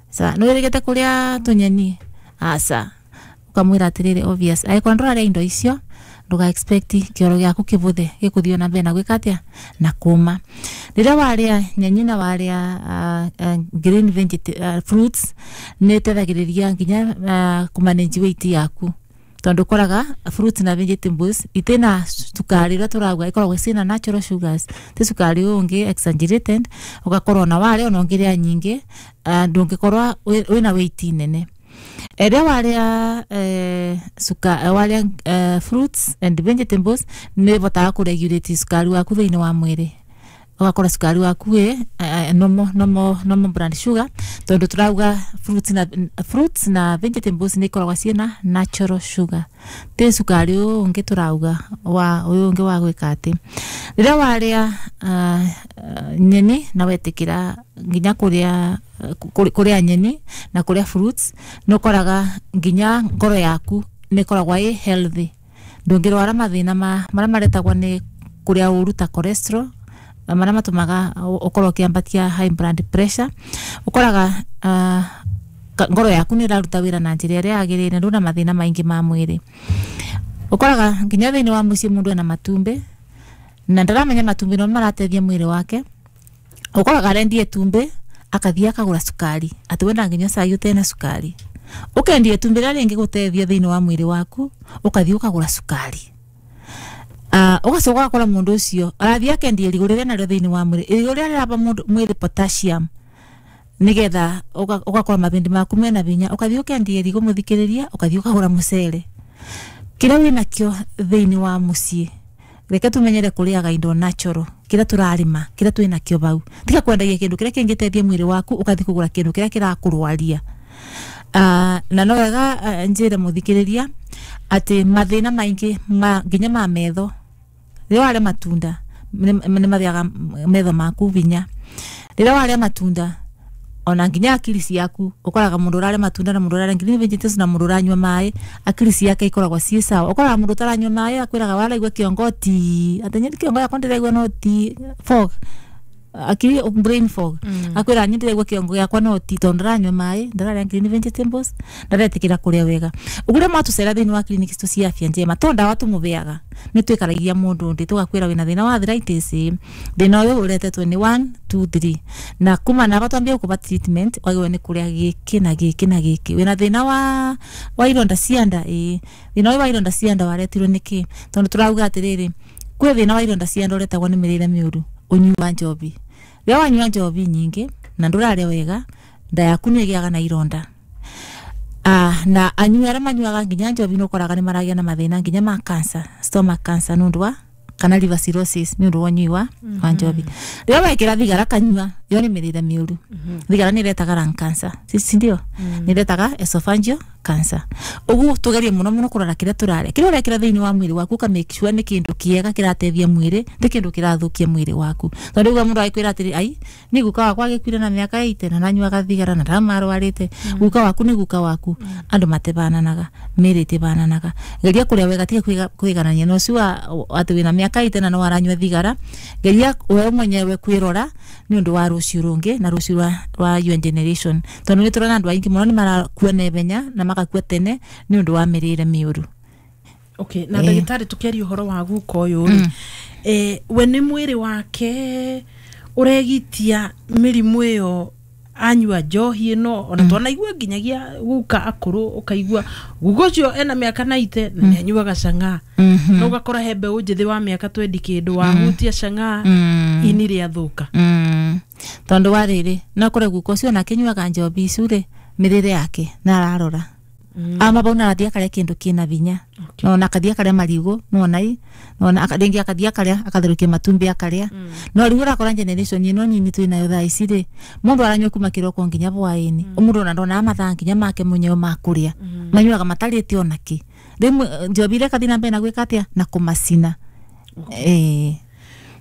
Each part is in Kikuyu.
Sa nĩ wĩrĩgĩte kũrĩa tũnyeni? Aca. Ũkamwĩra atĩrĩrĩ, obvious angĩkorwo ndũrarĩa indo icio, ndũga expect kĩoro gĩaku kĩbũthe, gĩkũthiĩ na mbere na gwĩka atĩa, na kũma. Rĩrĩa warĩa nyeni na warĩa green fruits, nĩ ĩteithagĩrĩria nginya kũmanage weight yaku, tondu ũkoraga fruits na vegetables itina cukari ũrĩa tũrauga, ikoragwo ciĩna natural sugars, ti cukari ũyũ ũngĩ exaggerated. Ũgakorwo ona warĩa, ona ũngĩrĩa nyingĩ, ndũngĩkorwo wĩna weight nene. Ĩrĩa warĩa warĩa fruits and vegetables, nĩ ĩbotaga kũregulate cukari waku thĩinĩ wa mwĩrĩ, ũgakora cukari waku wĩ normal blood sugar, tondu tũrauga fruits na vegetables nĩ ikoragwo ciĩna natural sugar, ti cukari ũyũ ũngĩ tũrauga wa ũyũ ũngĩ wa gwĩka atĩ. Rĩrĩa warĩa nyeni na wetĩkĩra nginya kũrĩa kũrĩa nyeni na kũrĩa fruits, nĩ ũkoraga nginya ngoro yaku nĩ ĩkoragwo ĩ healthy, ndũngĩrwara mathĩna ma marĩa maretagwo nĩ kũrĩa ũru ta cholesterol, marĩa matũmaga ũkorwo ũkĩambatia high blood pressure. Ũkoraga ngoro yaku nĩ ĩraruta wĩra na njĩra ĩrĩa yagĩrĩire, ndũna mathĩna maingĩ ma mwĩrĩ. Ũkoraga nginya thĩinĩ wa mũciĩ mũndũ ena matumbĩ na ndaramenya matumbĩ no marateithia mwĩrĩ wake. Ũkoraga arendia itumbĩ, akathiĩ akagũra cukari, atĩ wenda nginya cai ũtena cukari. Ũkendia itumbĩ rĩrĩa rĩngĩgũteithia thĩinĩ wa mwĩrĩ waku, ũkathiĩ ũkagũra cukari. Ũgacoka ũgakora mũndũ ũcio arathiĩ akendia irigũ rĩrĩa narĩo thĩinĩ wa mwĩrĩ, irigũ rĩrĩa rĩraba mũndũ mwĩrĩ potassium, nigetha ũgakora mabindi maku mena hinya. Ũkathiĩ ũkendia irigũ, mũthikĩrĩria, ũkathiĩ ũkagũra mũcere kĩrĩa wĩnakĩo thĩinĩ wa mũciĩ. Reke tumenyere kũrĩaga indo natural, kĩrĩa tũrarĩma, kĩrĩa twĩnakĩo bau. Tiga kwendagia kĩndũ kĩrĩa kĩngĩteithia mwĩrĩ waku, ũgathiĩ kũgũra kĩndũ kĩrĩa kĩrakũrwaria. Na no wega njĩre mũthikĩrĩria atĩ mathĩna maingĩ ma nginya ma metho, rĩrĩa warĩa matunda nĩ mathiaga metho maku hinya. Rĩrĩa warĩa matunda, ona nginya akili ciaku, ũkoraga mũndũ ũrarĩa matunda na mũndũ ũrarĩa green vegetables na mũndũ ũranyua maĩ, akili ciake ikoragwo ciĩ sawa. Ũkoraga mũndũ ũtaranyua maĩ akwĩraga waraigua kĩongo ti atĩ nyĩ kĩongo yakwa ndĩraigua no ti fog, akili, brain fog. Akwĩra nyĩ ndĩraigua kĩongo gĩakwa no ti tondũ ndaranyua maĩ, ndararĩa green vegetables, ndaretĩkĩra kũrĩa wega. Ũguo rĩrĩa mwatũcera thĩinĩ wa clinic citũ cia Afya Njema, to ndawa tũmũbeaga, nĩ twĩkaragia mũndũ ndĩ tũgakwĩra wĩna thĩna wa arthritis ĩ, thĩna ũyũ ũretetwo nĩ 1 2 3, na kuma naba twambie gũkũba treatment, wagĩrĩirwo nĩ kũrĩa gĩkĩ na gĩkĩ na gĩkĩ. Wĩna thĩna wa ironda cia nda ĩ, thĩna ũyũ wa ironda cia nda waretirwo nĩkĩ? Tondũ tũrauga atĩrĩrĩ, kwĩ thĩna wa ironda cia nda ũretagwo nĩ mĩrĩre mĩũru, ũnyui wa njobi. Rĩrĩa wanyua njobi nyingĩ na ndũrarĩa wega, nda yaku nĩ ĩgĩaga na ironda. Na anyui arĩa manyuaga nginya njobi nĩ ũkoraga nĩ maragĩa na mathĩna nginya ma cancer, stomach cancer, nĩ ũndũ wa kana liver cirrhosis, nĩ ũndũ wa ũnyui wa njobi. Rĩrĩa wekĩra thigara kanyua, yo nĩ mĩrĩre mĩũru. Thigara nĩ ĩretaga lung cancer, si ndio? Nĩ ĩretaga esophageal cancer. Ũguo tũgerie mũno mũno kũrora kĩrĩa tũrarĩa, kĩrĩa ũrekĩra thĩinĩ wa mwĩrĩ waku, ũka make sure nĩ kĩndũ kĩega kĩrateithia mwĩrĩ, ti kĩndũ kĩrathũkia mwĩrĩ waku. Tondũ rĩu mũndũ agĩkwĩra atĩrĩ, ai nĩ guka wakwa agĩkuire na mĩaka 80 na nanyuaga thigara na ndamarwarĩte. Guka waku nĩ guka waku, andũ matibananaga, mĩĩrĩ ĩtibananaga. Geria kũrĩa wega, tiga kwĩganania na ũcio wa atĩ wĩna mĩaka 80 na no aranyua thigara. Geria we mwenyewe kwĩrora nĩ ũndũ wa rũciũ rũngĩ na rũciũ rwa your generation, tondũ nĩ tũrona andũ aingĩ mũno nĩ marakua naihenya na magakua tene nĩ ũndũ wa mĩrĩre mĩũru. Okay, na ndagĩtarĩ, tũkĩaria ũhoro wa guka ũyũ rĩ, we nĩ mwĩrĩ wake ũregitia mĩrimũ ĩyo anyua njohi ĩno? Ona twanaigua nginyagia guka akũrũ, ũkaigua guka ũcio ena mĩaka 90 na nĩ anyuaga cang'aa, na ũgakora he mbeũ njĩthĩ wa mĩaka 20 kĩndũ wahutia cang'aa, ini rĩathũka. Tondũ wa rĩrĩ, no kũre guka ũcio ona akĩnyuaga njobi icu rĩ, mĩrĩre yake na ararora ama bau na arathiĩ akarĩa kĩndũ kĩna hinya. Nona akathiĩ akarĩa marigũ, nona i nona rĩngĩ akathiĩ akarĩa, akatherũkia matumbĩ akarĩa. No rĩu ũrakora generation ĩno nini twĩ nayo thaa ici rĩ, mũndũ aranyua kuma kĩroko nginya hwaĩ-inĩ. Mũndũ ona ndonaga mathaa nginya make mwenyewe ma kũrĩa, manyuaga matarĩte onakĩ. Rĩmwe njobi iria ĩkathiĩ na mbere na gwĩka atĩa, na kũmacina. Ĩĩ.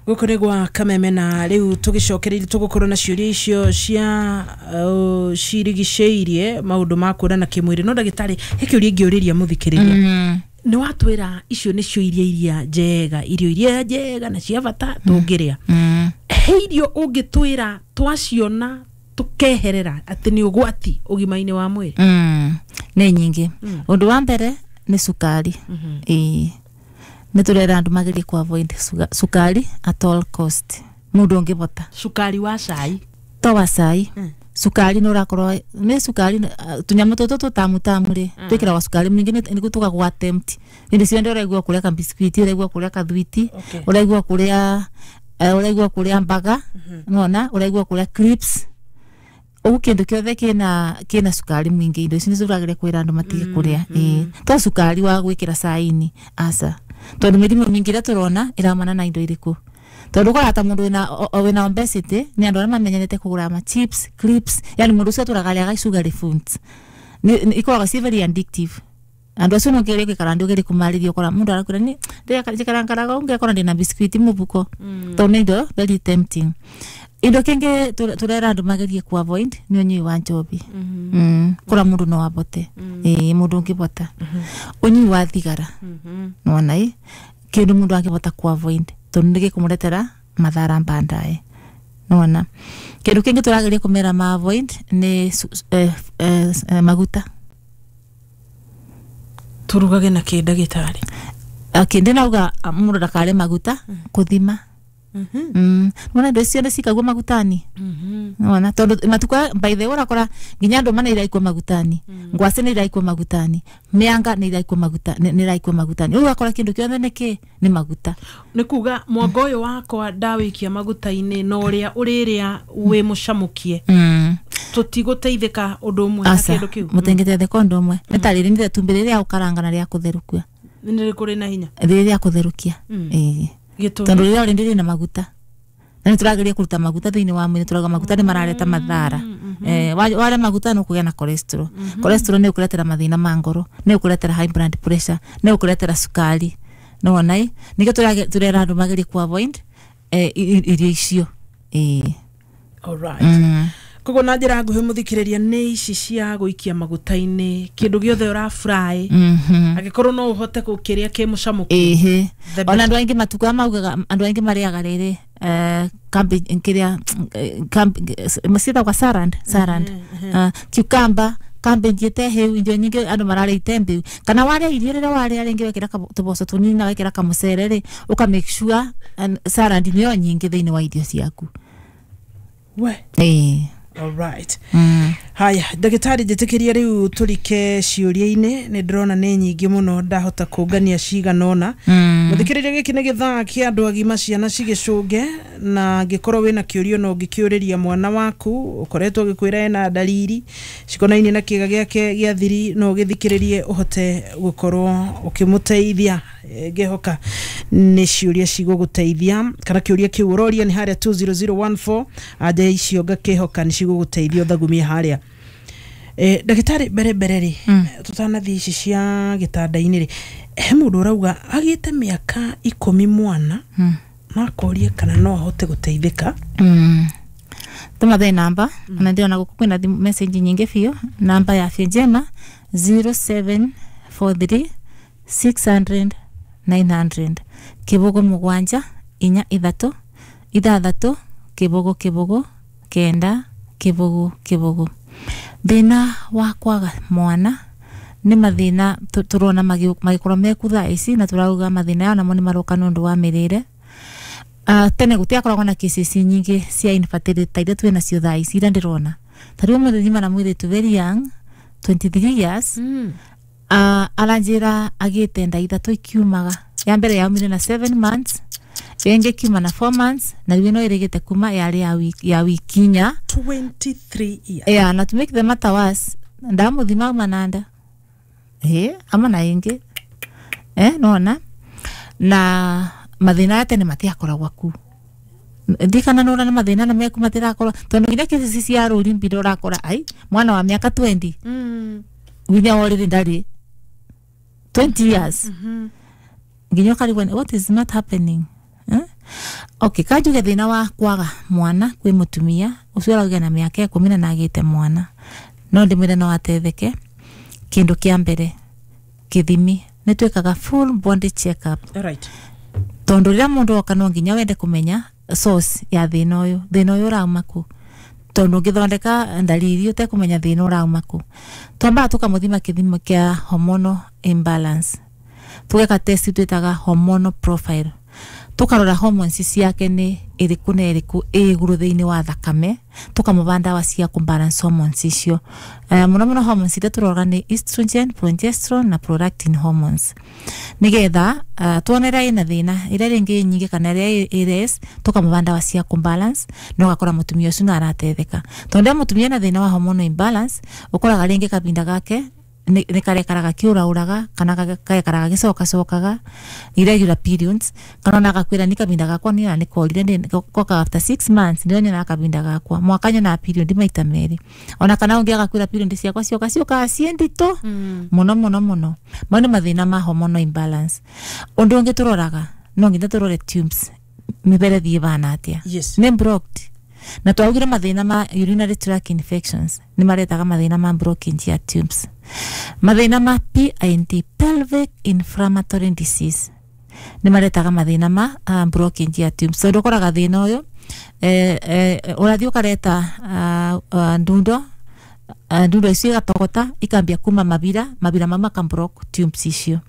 Gũkũ nĩ gwa Kameme, na rĩu tũgĩcokereria tũgũkorwo na ciũria icio cia cirigicĩirie maũndũ ma kuonana kĩmwĩrĩ. No ndagĩtarĩ, he kĩũria ingĩũrĩria mũthikĩrĩria. Nĩ watwĩra icio nĩcio irio iria njega, irio iria njega na cia bata tũngĩrĩa. He irio ũngĩtwĩra twaciona tukeherera ati ni ugwati ugima-ini wa mwiri? Nĩ nyingĩ. Ũndũ wa mbere nĩ cukari. Ĩĩ, nĩ tũrera andũ magerie ku avoid cukari at all cost. Mũndũ ũngĩbota cukari wa cai? To wa cai. Cukari nĩ ũrakorwo nĩ cukari, tũnyamũ tũtũ tũtamu tamu rĩ, twĩkĩragwo cukari mũingĩ nĩguo tũgagwa tempt. Hĩndĩ ciothe ũraigua kũrĩa kabiskuiti, ũraigua kũrĩa kathwiti, ũraigua kũrĩa ũraigua kũrĩa mbaga, nona ũraigua kũrĩa crisps, ũguo kĩndũ kĩothe kĩna cukari mũingĩ, indo ici nĩcio tũrageria kwĩra andũ matige kũrĩa. Ĩĩ, to cukari wa gwĩkĩra cai-inĩ, aca, tondũ mĩrimũ mĩingĩ ĩrĩa tũrona ĩraumana na indo irĩkũ? Tondũ ũkoraga ta mũndũ wĩna obesity nĩ andũ arĩa mamenyerete kũgũra ma chips, crisps, yani mũndũ ũcio atũraga arĩaga sugary foods. Ikoragwo ci very addictive. Andũ acio no ũngĩgeria gũikara ndĩ ũgerie kũmarĩria, ũkora mũndũ arakwĩra nĩ njikarankaraga ũngĩakora ndĩna biscuit mũbuko, tondũ nĩ indo very tempting. Indo kĩngĩ tũrera andũ magerie ku avoid nĩ ũnyui wa njobi. Kũra mũndũ no abote. Ĩĩ, mũndũ ũngĩbota. Ũnyui wa thigara. Nĩwona ĩ? Kĩndũ mũndũ angĩbota ku avoid tondũ nĩ gĩkũmũretera mathara baadaye. Nĩwona? Kĩndũ kĩngĩ tũrageria kũmera ma avoid nĩ maguta. Turugage na kĩ, ndagĩtarĩ? Okay, ndĩnauga mũndũ ndakarĩe maguta kũthima. Nĩwona indo icio ciothe cikagwo magutani. Nĩwona tondũ matukũ aya, by the way, ũrakora nginya ndũma nĩ iraikwo magutani, ngwacĩ nĩ iraikwo magutani, mĩanga nĩ iraikwo maguta, nĩ iraikwo magutani. Rĩu ũgakora kĩndũ kĩothe nĩ kĩ? Nĩ maguta. Nĩ kuga mwanga ũyũ wakwa ndawĩikia maguta-inĩ na ũrĩa ũrĩrĩa wĩ mũcamũkie, tũtigũteithĩka ũndũ ũmwe na Aca, kĩndũ kĩu? Mũtingĩteithĩka ũndũ ũmwe. Nĩ ta rĩrĩ nĩ itumbĩ rĩrĩa gũkaranga na rĩa kũtherũkia. Nĩ rĩkũ rĩna hinya? Rĩrĩa rĩa kũtherũkia. Ĩĩ. Gĩtũmi? Tondũ rĩrĩa already rĩna maguta na nĩ tũrageria kũruta maguta thĩinĩ wa mwĩrĩ, tũrauga maguta nĩ marareta mathara. Warĩa maguta nĩ ũkũgĩa na cholesterol. Cholesterol nĩ ũkũretera mathĩna ma ngoro, nĩ ũkũretera high blood pressure, nĩ ũkũretera cukari. Nĩwona ĩ? Nĩkĩo tũrera andũ magerie ku avoid irio icio. Ĩĩ. Alright. Koguo na njĩra nguhĩ, mũthikĩrĩria, nĩ ici cia gũikia maguta-inĩ, kĩndũ gĩothe ũrafry, angĩkorwo no ũhote gũkĩrĩa kĩ mũcamũkie, the Ona andũ aingĩ matukũ aya maugaga andũ aingĩ marĩaga rĩrĩ cabbage, kĩrĩa ciĩtagwo salad, cucumber, cabbage ĩte hĩu, irio nyingĩ andũ mararĩa ite mbĩu, kana warĩa irio rĩrĩa warĩa rĩngĩ wekĩra tũboco tũnini na wekĩra kamũcere rĩ, ũka make sure salad nĩyo nyingĩ thĩinĩ wa irio ciaku. We. Ĩĩ. Alright. Haya, ndagĩtarĩ, njĩtĩkĩria rĩu tũrike ciũria-inĩ. Nĩ ndĩrona nĩ nyingĩ mũno, ndahota kũngania cigana ũna. Mũthikĩrĩria, gĩkĩ nĩ gĩthaa kĩa andũ agima, ciana cigĩcũnge, na angĩkorwo wĩna kĩũrio no ũngĩkĩũrĩria mwana waku ũkoretwo ũgĩkwĩra ena ndariri cikonainie na kĩga gĩake gĩa thiri, no ũgĩthikĩrĩrie ũhote gũkorwo ũkĩmũteithia. Ngĩhoka nĩ ciũria cigũgũteithia, kana kĩũria kĩu ũroria nĩ harĩa 20014, anja icio ngakĩhoka nĩ cigũgũteithia ũthagumie harĩa. Ndagĩtarĩ, mbere mbere rĩ, tũtanathiĩ ici cia gĩtanda-inĩ rĩ, he mũndũ ũrauga agĩte mĩaka 10 mwana, na akoria kana no ahote gũteithĩka. Tũmathe namba, ona ndĩrona gũkũ kwĩna message nyingĩ biũ. Namba ya Afya Njema 0743 600 900, 0 7 4 3 6 0 0 9 0 0. Thĩna wa kwaga mwana nĩ mathĩna tũrona magĩkorwo meku thaa ici, na tũrauga mathĩna aya namo nĩ maroka nĩ ũndũ wa mĩrĩre. Tene gũtiakoragwo na cases nyingĩ cia infertility ta iria twĩ nacio thaa ici, iria ndĩrona. Ta rĩu ũmũthĩ nyuma na mũirĩtu very young, 23 years. Aranjĩra agĩte nda 3 ikiumaga. Ya mbere yaumire na 7 months, ĩngĩ kiuma na 4 months, na rĩu ĩno ĩrĩgĩte kuma yarĩ ya wiki 4. 23 years? Yeah, na to make the matter worse, ndamuthima auma na nda ĩ ama na ĩngĩ, nona na mathĩna ya tene matiakoragwo ku ndikana nora na mathĩna na meku matirakorwo, tondũ nginya kesi cia rũri mbiro ũrakora ai mwana wa mĩaka 20 winya already ndarĩ 20 years, nginya ũkarigwo what is not happening, eh? Okay, kanjuge thĩna wa kwaga mwana kwĩ mũtumia ũcio ũrauga na mĩaka 10 na agĩte mwana, no ndĩmwĩre no ateithĩke. Kĩndũ kĩa mbere, kĩthimi, nĩ twĩkaga full body check up, tondũ rĩrĩa mũndũ oka no nginya wende kũmenya source ya thĩna ũyũ, thĩna ũyũ ũrauma kũ. Tondu ngithondeka ndariri utekumenya thina urauma ku. Twambaga tukamuthima kithimo kia hormonal imbalance, tugeka test twitaga hormonal profile, tukarora hormones ciake ni iriku na iriku ĩ igũrũ thĩinĩ wa thakame, tukamũba ndawa cia kũbalance hormones icio. Mũno mũno hormones iria tũroraga nĩ estrogen, progesterone na prolactin hormones, nigetha tuone ĩrĩa ĩna thĩna, ĩrĩa rĩngĩ ĩ nyingĩ kana ĩrĩa ĩ less, tukamũba ndawa cia kũbalance na ũgakora mũtumia ũcio no aratetheka. Tondũ rĩrĩa mũtumia ena thĩna wa hormonal imbalance, ũkoraga rĩngĩ kahinda gake nĩ karekaraga kĩũraũraga kana gagekaraga gĩcokacokaga, irregular periods, kana ona agakwĩra ni kahinda gakwa nĩ nĩ korire goka after 6 months nĩrĩo nyonaga kahinda gakwa, mwaka nyonaga period maita merĩ, ona kana ũngĩ agakwĩra period ciakwa cioka ciũkaga ciĩ nditũ mũno mũno mũno. Mau nĩ mathĩna ma hormonal imbalance. Ũndũ ũngĩ tũroraga, no nginya tũrore tubes mĩberethi ĩbana atĩa. Nĩ blocked. Na twaugire mathĩna ma urinary tract infections nĩ maretaga mathĩna ma blockage ya tubes. Mathĩna ma PID, pelvic inflammatory disease, nĩ maretaga mathĩna ma blockage ya tubes. Tondũ ũkoraga thĩna ũyũ ũrathiĩ ũkareta ndundo, ndundo icio igatogota ikambia kuma mabira, mabira mau makablock tubes icio.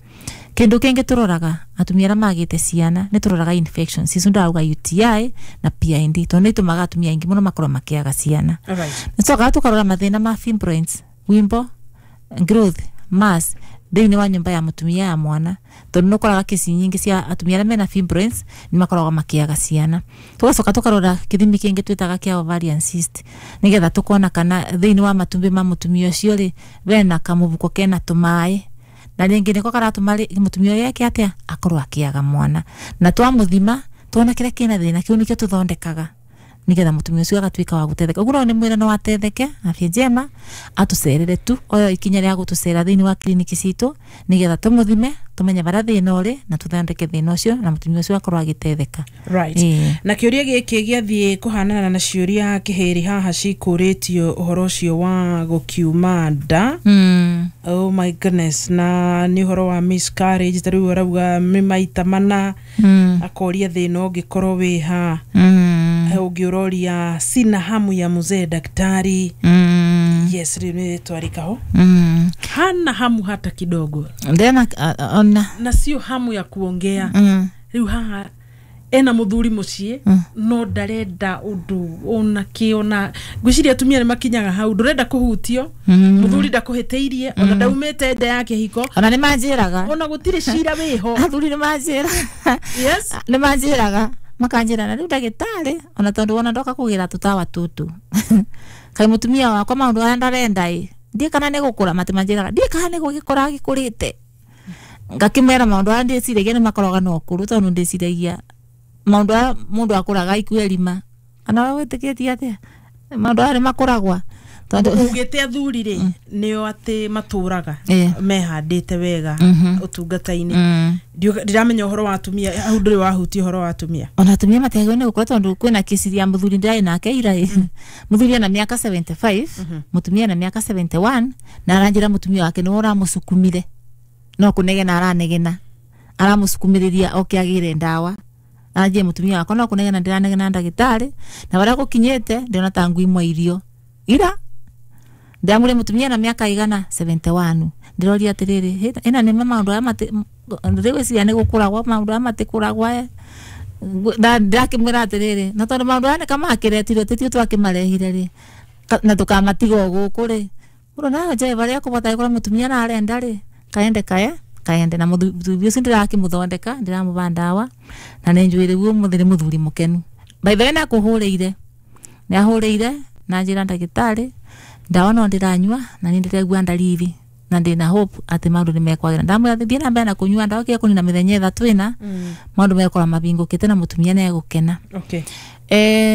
Kindu kingi turoraga atumia aria magite ciana ni turoraga infections icio ndauga UTI na PID, tondu ni itumaga atumia aingi muno makorwo makiaga ciana. Nicokaga tukarora mathina ma fibroids, wimbo growth mass thiini wa nyumba ya mutumia ya mwana, tondu nukoraga kesi nyingi cia atumia aria mena fibroids ni makoragwo makiaga ciana. Tugacoka tukarora kithimi kingi twitaga kia ovarian cyst, nigetha tukona kana thiini wa matumbi ma mutumia ucio ri bena kamubuko kena tumai, na ringi niko karatuma mutumia uyu eke atia akorwo akiaga mwana. Na twamuthima tuona kiria kina thina kiu nikio tuthondekaga nigetha mutumia ucio agatuika wa gutetheka. Uguo no ni mwira no atetheke afya njema atucerere tu oyo ikinya ria gutucera thiini wa kliniki citu nigetha tumuthime tumenye baria thina uri na tuthondeke thina ucio na mutumia ucio akorwo agitetheka. Na kiuria giki giathie kuhanana na ciuria kihiri haha cikuritio uhoro ucio wa gukiuma nda. Oh my goodness, na ni uhoro wa miscarriage ta riu arauga ni maita mana, akoria thina ungikorwo wi ha, ungiuroria sina hamu ya mzee daktari. Yes, riu ni twarikaho. Hana hamu hata kidogo. Ndena ona na sio hamu ya kuongea. Riu haha ena muthuri mucii no ndarenda undu ona ki ona ngwiciria atumia ni makinyaga hau ndurenda kuhutio, muthuri ndakuhiteirie ona ndaumite nda ya kihiko ona ni manjiraga ona gutiri cira wiho athuri ni manjira. Yes, ni manjiraga makanjira na riu ndagitari ona tondu wona ndoka kugira tutawa tutu kai mutumia wakwa maundu aya ndarenda i ndie kana ni gukura matimanjiraga ndie kana ni gugikura gikurite ngakimera maundu aya ndiciragia ni makoroga no kuru tondu ndiciragia maundu aya mundu akuraga ikuerima kana we witikitie atia maundu aya ni makuragwa tondu ugite athuri ri nio ati maturaga mehandite wega utungata-ini. Ndiramenya uhoro wa atumia hau nduri wahutia uhoro wa atumia. Ona atumia matiagwo ni gukura tondu kwina kesi ya muthuri ndai nake ira muthuri ana miaka 75 mutumia ana miaka 71 na aranjira mutumia wake ni uramusukumire no kunegena aranegena aramusukumiriria oke agire ndawa anjie mutumia wakwa no kunegena ndiranegena ndagitari na baria gukinyite ndiona ta ngui mwa irio ira ndamure mutumia na miaka igana 71 ndiroria atiriri ina ni maundu aya mati ndirigwiciria ni gukuragwa maundu aya matikuragwa na ndakimwira atiriri na tondu maundu aya ni kamakiretire titio twakimarehire ri na tukamatiga guku ri muno na njae baria kubota ikora mutumia na arenda ri kaende kae kaende na muthuri ucio ndirakimuthondeka ndiramuba ndawa na ninjuire guo muthi ni muthuri mukenu. By the way na kuhuriire ni ahuriire na njira ndagitari ndawa no ndiranyua na ni ndirigua ndariri na ndina hope ati maundu ni mekwagira. Ndamwira thie na mbere na kunyua ndawa kia kunina mithenya ithatu ina maundu mekora mabingukite na mutumia ni egukena.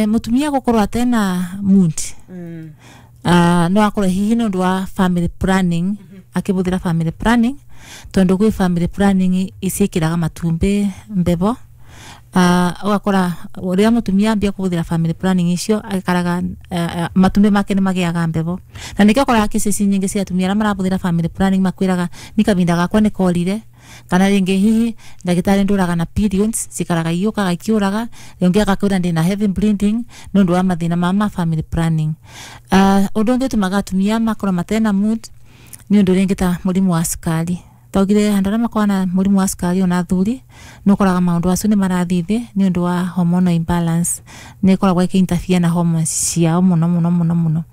Mutumia gukorwo atena mood no akorwo hihi ni undu wa family planning, akibuthira family planning tondu gwi family planning iciikiraga matumbi mbebo ugakora uria mutumia ambia kubuthira family planning icio agikaraga matumbi make ni magiaga mbebo na nikio koraga kesi nyingi cia atumia aria marabuthira family planning makwiraga ni kavinda gakwa ni korire Kana ringi hihi ndagitari nduraga na periods cikaraga iukaga ikiuraga, ringi agakwira ndina heavy bleeding nundu wa mathina ma family planning. Undu ungi utumaga atumia makorwo matena mood ni undu ringi ta murimu wa cukari. Taugire andu aria makoragwo na murimu wa cukari ona athuri ni ukoraga maundu acio ni marathii thi ni undu wa hormonal imbalance, ni ikoragwo ikiinterfere na hormones ciao muno muno muno muno.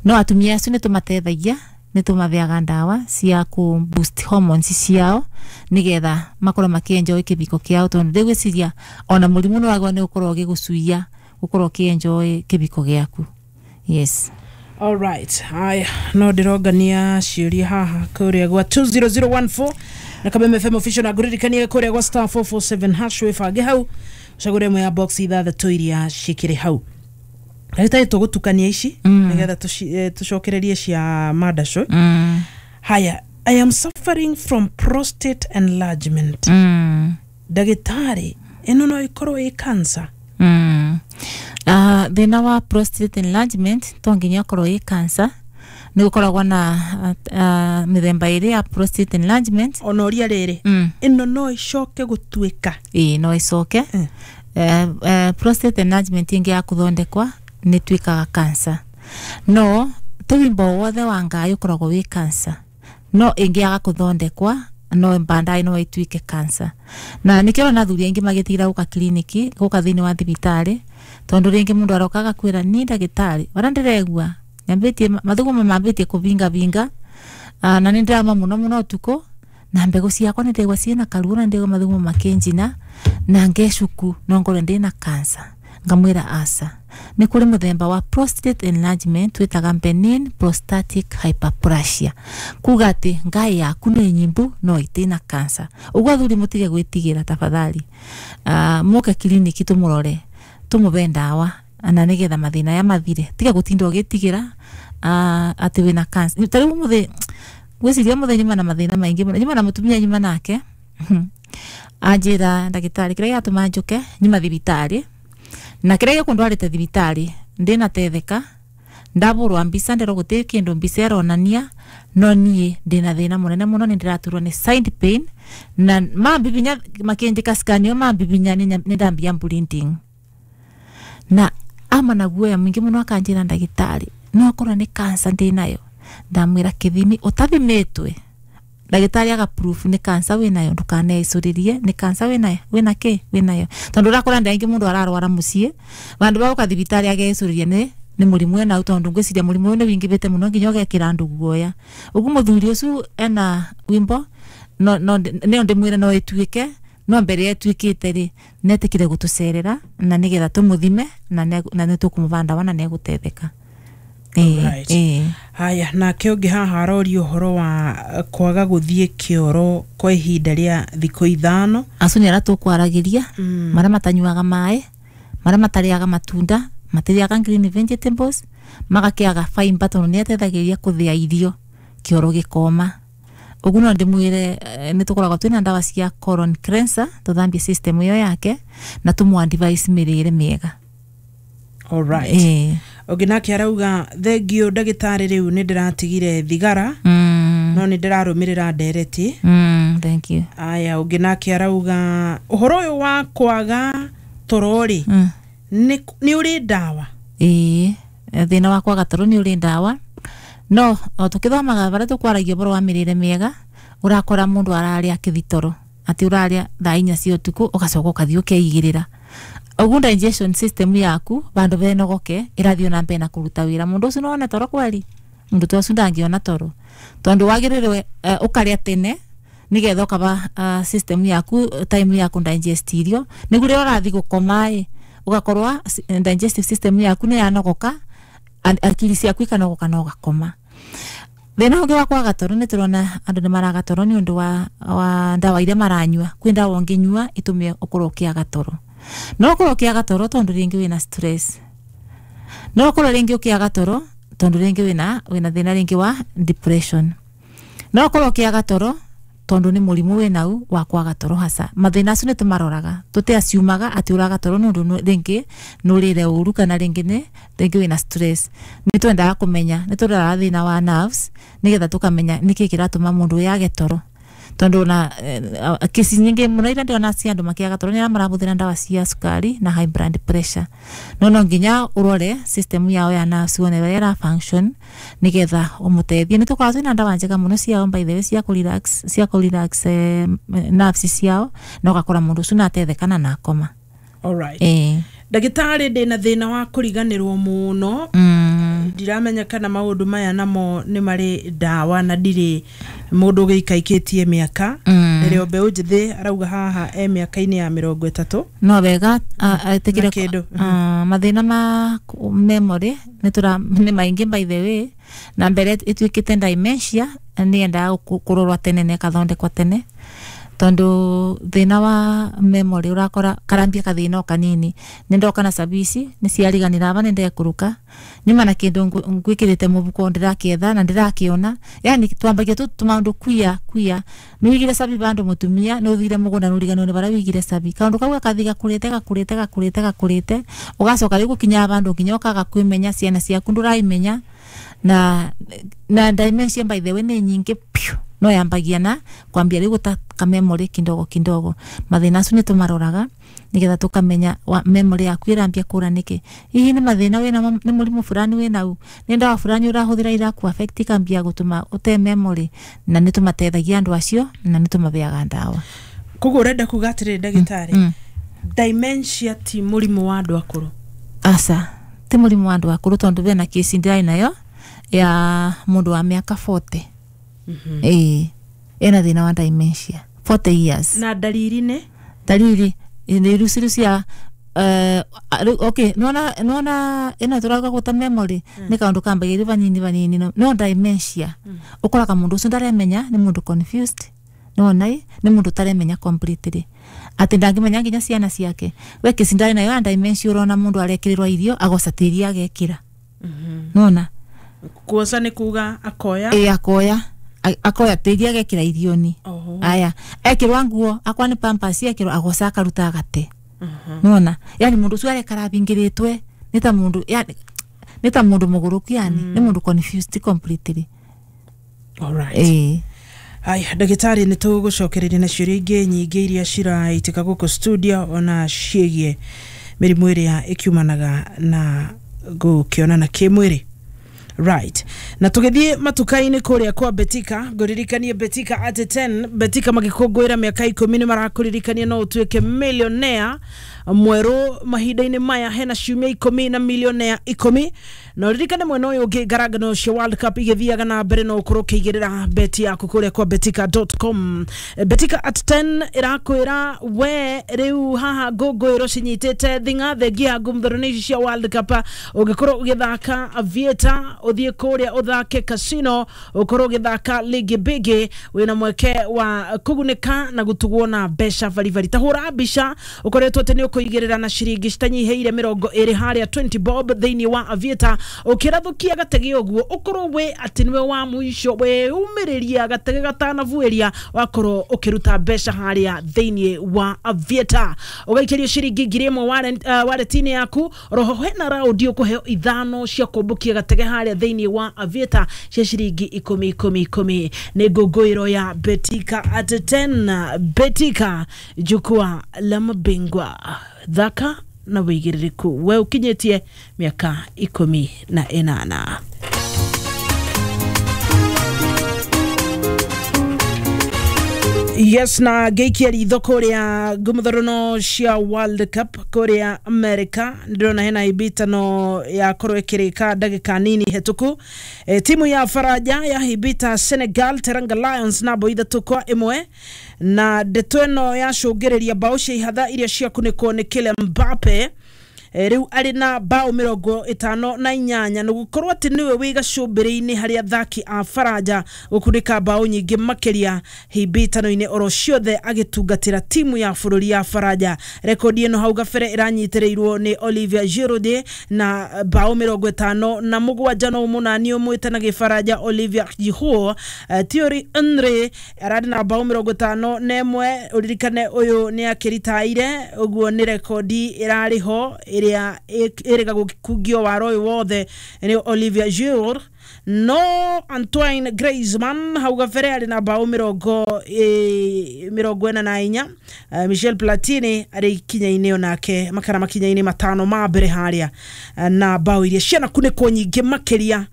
No atumia acio ni tumateithagia, ni tumatheaga ndawa cia ku boost hormones ciao nigetha makorwo makienjoy kibiko kiao, tondu ndigwiciria ona murimu no wagwa ni ukorwo ugigucuia ukorwo ukienjoy kibiko giaku. Yes. All right. Haya, no ndirongania ciũria haha kũrĩa gwa 20014 na Kameme FM official, na ngũririkanie kũrĩa gwa star 447 hash wĩbange hau ũcagũre ĩmwe ya box ithathatũ iria cikĩrĩ hau. Ndagĩtarĩ, tũgũtukania ici nĩgetha tũcokererie cia madasho. Haya, I am suffering from prostate enlargement. Ndagĩtarĩ, ĩno no ĩkorwo ĩ cancer? Thina wa prostate enlargement to nginya ũkorwo ĩ cancer. Nĩ gũkoragwo na mĩthemba ĩrĩ ya prostate enlargement. Ona ũria rĩrĩ, ĩno no ĩcoke gũtuĩka? Ĩĩ, no ĩcoke. Prostate enlargement ĩngĩ ya kũthondekwa nĩ tuĩkaga cancer, no tũwimbo wothe wa ngai ũkoragwo wĩ cancer, no ĩngĩaga kũthondekwa no baadaye no ĩtuĩke cancer. Na nĩkĩo ũrona athuri aingĩ magĩtigĩra gũka kiriniki, gũka thĩinĩ wa thibitarĩ, tondũ rĩngĩ mũndũ aroka agakwĩra ni ndagĩtarĩ ũrĩa ndĩregua nyambĩtie mathugumo mambĩtie kũbingabinga, na nĩ ndĩrama mũno mũno ũtukũ, na mbegũ ciakwa nĩ ndĩraigua ciĩna karuo, na ndĩraigua mathugumo makĩnjina na ngecuku, no ngorwo ndĩna cancer. Ngamwĩra aca, nĩ kũrĩ mũthemba wa prostate enlargement twĩtaga benign prostatic hyperplasia, kuga atĩ ngai yaku nĩ nyimbu no ĩtĩna cancer. Ũguo athuri mũtige gwĩtigĩra tafadhali, mũke kiriniki tũmũrore, tũmũbe ndawa na nĩgetha mathĩna ya mathire. Tiga gũtinda ũgĩtigĩra atĩ wĩna cancer. Ta rĩu mũthĩ ngwĩciria mũthĩ nyuma na mathĩna maingĩ mũno, nyuma na mũtumia, nyuma nake anjĩra ndagĩtarĩ kĩrĩa gĩatũma njũke nyuma thibitarĩ na kĩrĩa gĩkũndwarĩte thibitarĩ ndĩnatetheka, ndabũrwa mbica ndĩrwo gũtirĩ kĩndũ mbica ĩronania, no niĩ ndĩna thĩna mũnene mũno, nĩ ndĩraturwo nĩ side pain na mambibinya makĩnjĩka scan ĩyo mambibinya nĩ ndambia bleeding, na ama na guoya mũingĩ mũno akanjĩra ndagĩtarĩ no akorwo nĩ cancer ndĩnayo. Ndamwĩra kĩthimi ũtathimĩtwe ndagĩtarĩ aga proof nĩ cancer wĩnayo, ndũkaneicũrĩrie nĩ cancer wĩnayo, wĩna kĩ wĩnayo, tondũ ũrakora andũ aingĩ mũndũ ararwara mũciĩ vandũ ba gũka thibitarĩ ageicũrĩria nĩ mũrimũ enau, tondũ ngwĩciria mũrimũ ũyũ nĩ wingĩhĩte mũno nginya ũgekĩra andũ guoya. Ũguo mũthuri ũcio ena wimbo no no nĩo ndĩmwĩre no ĩtuĩke, no mbere ĩtuĩkĩte rĩ netĩkire gũtũcerera na nĩgetha tũmũthime na nĩ tũkũmũba ndawa na nĩegũtetheka. Alright. Haya, nake ũngĩ haha aroria ũhoro wa kwaga gũthiĩ kĩoro kwa ihinda rĩa thikũ 5. Acio nĩ arĩa tũkwaragĩria, marĩa matanyuaga maĩ, marĩa matarĩaga matunda, matirĩaga green vegetables, magakĩaga fiber tondũ nĩ ĩteithagĩrĩria kũthĩa irio kĩoro gĩkoma. Ũguo no ndĩmwĩre nĩ tũkoragwo twĩna ndawa cia colon cleanser tũthambie system ĩyo yake na tũmũ advise mĩrĩre mĩega. Alright. Ũngĩ nake arauga thengio ndagĩtarĩ, rĩu nĩ ndĩratigire thigara no nĩ ndĩrarũmĩrĩra ndereti. Thank you. Aya, ũngĩ nake arauga ũhoro ũyũ wa kwaga toro rĩ, nĩ ũrĩ ndawa? Ĩĩ, thĩna wa kwaga toro nĩ ũrĩ ndawa, no o tũkĩthomaga barĩa tũkwaragia ũhoro wa mĩrĩre mĩega, ũrakora mũndũ ararĩa kĩthitoro, atĩ ũrarĩa thaa 4 cia ũtukũ ũgacoka ũkathiĩ ũkeigĩrĩra. Ũguo digestion system yaku vandũ venogoke ĩrathiĩ na mbere na kũruta wĩra. Mũndũ ũcio no one toro kweli? Mũndũ ta ũcio ndangĩona toro, tondũ wagĩrĩirwo ũkarĩa tene nĩgetha ũkaba system yaku time ya kũ digest irio, nĩguo rĩrĩa ũrathiĩ gũkoma ĩ ũgakorwo digestive system yaku nĩ yanogoka, akili ciaku ikanogoka na ũgakoma. Thĩna ũngĩ wa kwaga toro nĩ tũrona andũ nĩ maraga toro nĩ ũndũ wa ndawa iria maranyua. Kwĩ ndawa ũngĩnyua ĩtũme ũkorwo ũkĩaga toro. No ũkorwo ũkĩaga toro tondũ rĩngĩ wĩna stress, no ũkorwo rĩngĩ ũkĩaga toro tondũ rĩngĩ wĩna thĩna rĩngĩ wa depression, no ũkorwo ũkĩaga toro tondu ni murimu winau wa kwaga toro hasa. Mathina acio ni tumaroraga, tutiaciumaga ati uraga toro nundu ringi nurire uru kana ringi ni ringi wina stress. Ni twendaga kumenya, ni turoraga thina wa nerves nigetha tukamenya niki kiratuma mundu yage toro. Tondu na kesi nyingi muno ira ndĩrona cia andũ makĩaga toro nĩ arĩa marahũthĩra ndawa cia cukari na high blood pressure. No nginya ũrore system yao ya nerves wone ũrĩa ĩra function nĩgetha ũmũteithie. Nĩ tũkoragwo twĩna ndawa njega mũno ciao by the way cia kũ relax nerves ciao, na ũgakora mũndũ ũcio nĩatetheka na akoma. Alright. Ĩĩ. Ndagĩtarĩ, ndĩna thĩna wa kũriganĩrwo mũno. Ndiramenya kana maũndũ maya namo nĩ marĩ ndawa, na ndirĩ mũndũ ũgĩikaikĩtie mĩaka. Rĩrĩa mbeũ njĩthĩ arauga haha e mĩaka-inĩ ya 30. No wega etĩkĩre Na kĩndũ. Mathĩna ma memory nĩ tũra nĩ maingĩ by the way, na mbere ĩtuĩkĩte dementia nĩ yendaga kũrorwo tene na ĩkathondekwo tene, tondu thĩna wa memory ũrakora karambia kathĩna o kanini. Nĩ ndoka na cabi ici nĩ ciariganĩra aba nĩ ndekũrũka nyuma na kĩndũ ngwĩkĩrĩte mũbuko ndĩrakĩetha na ndĩrakĩona. Yani twambagia tu tũmaũndũ kuia kuia nĩ wigire cabi bandũ, mũtumia nĩ ũthire mũgũnda nĩ ũriganĩrwo nĩ barĩa wigire cabi. Kaũndũ kau gakathi gakũrĩte gakũrĩte gakũrĩte gakũrĩte, ũgacoka rĩu gũkinya bandũ nginya ũkaga kwĩmenya, ciana ciaku ndũraimenya. Na dementia by the way nĩ nyingĩ piũ, no yambagia na kwambia rĩu gũta memory kidogo kidogo. Mathĩna acio nĩ tũmaroraga nĩgetha tũkamenya memory yaku ĩrambia kũra nĩkĩ. Hihi nĩ mathĩna wĩnamo, nĩ mũrimũ fulani wĩnau, nĩ ndawa fulani ũrahũthĩra iraku affect ikambia gũtũma ũte memory, na nĩ tũmateithagia andũ acio na nĩ tũmabeaga ndawa. Koguo ũrenda kuga atĩrĩrĩ ndagĩtarĩ, dementia ti mũrimũ wa andũ akũrũ? Aca, ti mũrimũ wa andũ akũrũ, tondũ bena kesi ndĩrarĩ nayo ya mũndũ wa mĩaka 40. Ĩĩ, ena thĩna wa dementia 40 years. Na ndariri nĩ? Dalili nĩ iruciru cia okay, nona ĩno tũrauga gũta memory nĩ kaũndũ kambagia rĩ vanini vanini, no dementia ũkoraga mũndũ ũcio ndaremenya, nĩ mũndũ confused. Nona ĩ nĩ mũndũ ũtaremenya completely atĩ ndangĩmenya nginya ciana ciake. We kesi ndarĩ nayo ya dementia, ũrona mũndũ arekĩrĩrwo irio agoca tĩri agekĩra, nona. Kuoca nĩ kuga akoya? Ĩ, akoya akoya tĩri agekĩra irioni. Aya, ekĩrwa nguo akwa nĩ pampers ekĩrwa agoca akaruta agate. Nona yani mũndũ ũcio arekara abingĩrĩtwe nĩ ta mũndũ, yani nĩ ta mũndũ mũgũrũku, yani nĩ mũndũ confused completely. Alright. Ĩĩ. Aya ndagĩtarĩ, nĩ tũgũcokereria na ciũria ingĩ nyingĩ iria ciraitĩka gũkũ studio, ona ciĩgiĩ mĩrimũ ĩrĩa ĩkiumanaga na gũkĩonana kĩmwĩrĩ. Right, na tũgĩthiĩ matuka-inĩ kũrĩa kwa Betika, ngũririkanie Betika at 10. Betika magĩkũngũĩra mĩaka 10 nĩ marakũririkania no ũtuĩke millionaire mwerũ mahinda-inĩ maya. Hena ciumia 10 na millionaire 10. Na ũririkane mwena ũyũ ũngĩ ngarangano cia World Cup igĩthiaga na mbere, no ũkorwo ũkĩigĩrĩra beti yaku kũrĩa kwa betika.com. Betika at 10 ĩrakwĩra we rĩu haha ngũngũĩro cinyitĩte thing'a thengia ngumthoro ici cia World Cup. Ũngĩkorwo ũgĩthaka Aviator, ũthiĩ kũrĩa ũthake casino, ũkorwo ũgĩthaka ligi bigi, wĩna mweke wa kũgunĩka na gũtugwo na mbeca baribari. Ta hũra mbica ũkoretwo atĩ nĩ ũkũigĩrĩra na ciringi citanyihĩire 20 harĩa 20 bob thĩinĩ wa Aviator, ũkĩrathũkia gatege ũguo ũkorwo wĩ atĩ nĩwe wa mũico wĩumĩrĩria gatege gatanabuĩria, wakorwo ũkĩruta mbeca harĩa thĩinĩ wa Aviator ũgaikĩrio ciringi 1000 wallet-inĩ yaku. Roho hena raundi ũkũheo ithano cia kũmbũkia gatege harĩa thĩinĩ wa Aviator cia ciringi ikũmi ikũmi ikũmi. Nĩ ngũngũĩro ya Betika at 10. Betika, jukwaa la mabingwa. Thaka na wĩigĩrĩrĩku, we ũkinyĩtie mĩaka 18. Yes, na ngĩikia ritho kũrĩa ngũmũthorono cia World Cup kũrĩa America, ndĩrona hena ibitano yakorwo ĩkĩrĩka ndagĩka nini hetũku. Timu ya Faranja yahibita Senegal, Teranga Lions, na bao 3-1, na ndeto ĩno yacũngĩrĩria bao cia ihatha iria ciakunĩkwo nĩ Kylian Mbappe. Rĩu arĩ na bao 58, na gũkorwo atĩ nĩwe wĩ gacũmbĩrĩ-inĩ harĩ athaki a Faranja gũkunĩka bao nyingĩ makĩria hĩmbĩtano-inĩ oro ciothe agĩtungatĩra timu ya bũrũri ya Faranja. Rekodi ĩno hau gabere ĩranyitĩrĩirwo nĩ Olivier Giroud na bao 57, no mũnani ũmwĩte na gĩfaranja Olivier Giroud. Thierry Henry ararĩ na bao 51. Ũririkane ũyũ nĩ akĩritaire, ũguo nĩ rekodi ĩrarĩ ho. ĩrĩa ĩrĩga gũkungio waro ũyũ wothe nĩ Olivier Giroud. No Antoine Griezmann hau gabere arĩ na bao 44. Michel Platini arĩ ikinya-inĩ onake makara makinya-inĩ 5 ma mbere harĩa, na bao iria cianakunĩkwo nyingĩ makĩria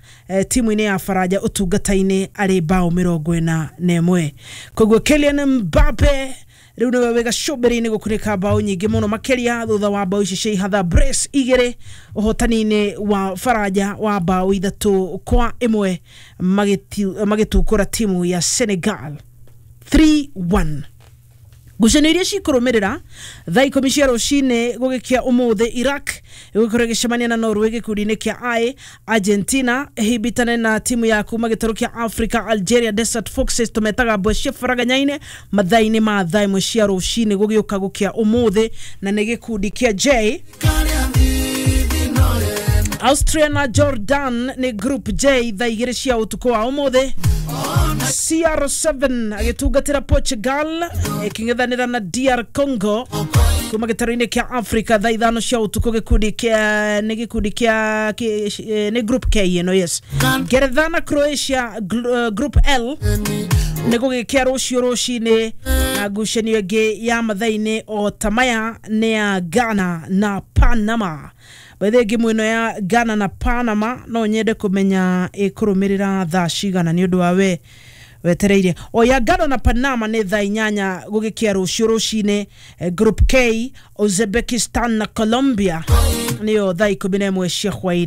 timu-inĩ ya Faranja ũtungata-inĩ arĩ bao 41. Koguo Kylian Mbappe rĩu nĩwe wĩ gacũmbĩrĩ-inĩ gũkunĩka bao nyingĩ mũno makĩria thutha wa bao ici cia ihatha brace 2 ũhotani-inĩ wa Faranja wa bao 3-1 magĩtukũra timu ya Senegal 3-1. Ngucanio iria cikũrũmĩrĩra thaa 10 cia rũcinĩ gũgĩkia ũmũthĩ, Iraq ĩgũkorwo ĩgĩcemania na Norway gĩkundi-inĩ kĩa I, Argentina ĩhimbitane na timu ya kuma gĩtarũ kĩa Africa Algeria Desert Foxes tũmetaga mbwe cia faraganya-inĩ mathaa-inĩ ma thaa 1 cia rũcinĩ gũgĩũka gũkĩa ũmũthĩ, na nĩ gĩkundi kĩa J. Austria na Jordan nĩ group J thaa 2 cia ũtukũ wa ũmũthĩ. CR7 agĩtungatĩra Portugal ĩkĩng'ethanĩra na DR Congo kuma gĩtarũ-inĩ kĩa Africa thaa 5 cia ũtukũ gĩkundi kĩa nĩ gĩkundi kĩa nĩ group K ĩno, yes. Ngeretha na Croatia group L nĩ gũgĩkĩa rũciũ rũcinĩ, na ngucanio ĩngĩ ya mathaa-inĩ o ta maya nĩ ya Ghana na Panama. By the way, ngĩmwe ĩno ya Ghana na Panama no nyende kũmenya ĩkũrũmĩrĩra thaa cigana nĩ ũndũ wa we wetereire. O ya Ghana na Panama nĩ thaa 8 gũgĩkĩa rũciũ rũcinĩ. Group K, Uzbekistan na Colombia nĩyo thaa 11 cia hwaĩ-inĩ.